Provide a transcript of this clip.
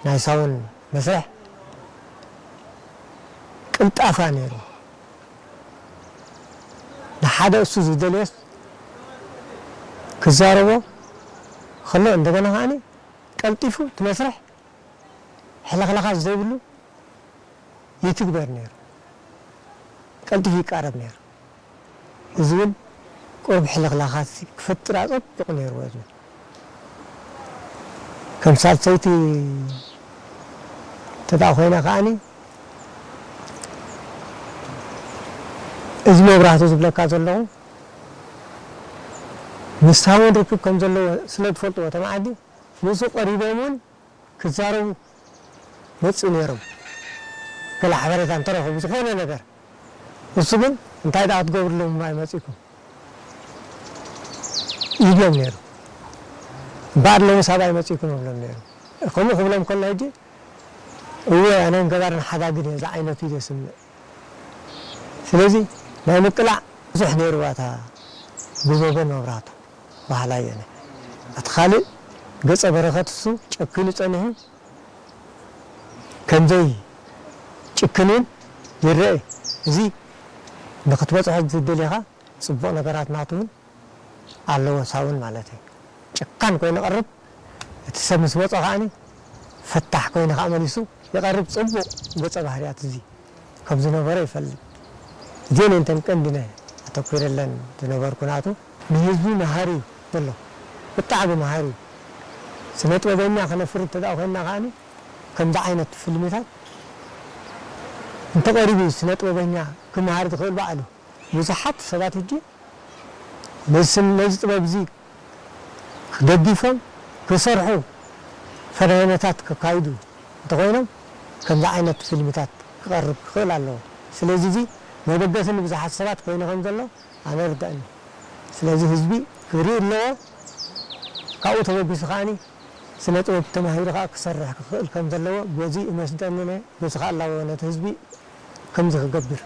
ናይ ሳውን መስርሕ ቅልጣፋ ነይሩ። ንሓደ እሱ ዝደልዮስ ክዛረቦ ከሎ፣ እንደገና ከዓኒ ቀልጢፉ እቲ መስርሕ ሕልኽላኻት ዘይብሉ ይትግበር ነይሩ። ቀልጢፉ ይቃረብ ነይሩ። እዚ እውን ቁሩብ ሕልኽላኻት ክፈጥር ኣጸቢቑ ነይርዎ። እዚ ከም ሳልሰይቲ እንተ ደኣ ኮይና ከዓኒ፣ እዚ መብራህቱ ዝብለካ ዘለኹ፣ ንሳ እውን ርክብ ከም ዘለዎ ስለ ትፈልጥዎ፣ እቶም ዓዲ ምስኡ ቀሪቦም እውን ክዛረቡ መጽኡ ነይሮም። ገለ ሓበሬታ እንተረኸቡ፣ ዝኾነ ነገር፣ እሱ ግን፣ "እንታይ ደኣ ክትገብርሎም እምበር መጺእኩም?" ይብሎም ነይሩ። "እምበኣር ሎምስ ኣበይ መጺእኩም?" ይብሎም ነይሩ። ከምኡ ክብሎም ከሎ፣ ሕጂ፣ "እወ፣ ኣነን ገባርን ሓዳግን እየ" ዝዓይነቱ እዩ ዘስምዕ። ስለዚ ናይ ምቅላዕ ብዙሕ ነይርዋ እታ ጉበቦን መብራህቱ በሃላይ እየ ኣነ። እቲ ካልእ ገጸ በረኸት እሱ ጨኪኑ ጸኒሑ ከምዘይ ጭክን እውን ይረአ። እዚ ንኽትበጽሖ ዝደሊኻ ጽቡቕ ነገራት ናቱ እውን ኣለዎ፣ ሳውን ማለት እዩ። ጨካን ኮይኑ ይቐርብ፣ እቲ ሰብ ምስ መጾ ከዓኒ ፈታሕ ኮይኑ ከኣ መሊሱ ይቐርብ። ጽቡቕ ገጸ ባህርያት እዚ ከም ዝነበሮ ይፈልጥ። እዚአን እየን እተን ቀንዲ ናይ ኣተኲረለን ዝነበርኩ ናቱ። ንህዝቢ መሃሪ እዩ ዘሎ፣ ብጣዕሚ መሃሪ እዩ። ስነ ጥበበኛ ክነፍሪ እንተ ደኣ ኮይንና ከዓኒ ከምዚ ዓይነት ፊልምታት እንተቐሪቡ እዩ ስነ ጥበበኛ ክመሃር ዝኽእል ባዕሉ። ብዙሓት ሰባት ሕጂ ነዚ ስም-፣ ነዚ ጥበብ እዚ ደጊፎም ክሰርሑ ፈተነታት ከካይዱ እንተኾይኖም ከምዚ ዓይነት ፊልምታት ክቐርብ ክኽእል ኣለዎ። ስለዚ እዚ መበገሲ ንብዙሓት ሰባት ኮይኑ ከም ዘሎ ኣነ ይርድኣኒ። ስለዚ ህዝቢ ክርኢ ኣለዎ። ካብኡ ተበጊሱ ከዓኒ ስነ ጥበብ ተማሂሩ ከኣ ክሰርሕ ክኽእል ከም ዘለዎ በዚ እመስደኒ እየ። በዚ ከኣ ኣለዎ ነቲ ህዝቢ ከምዚ ክገብር።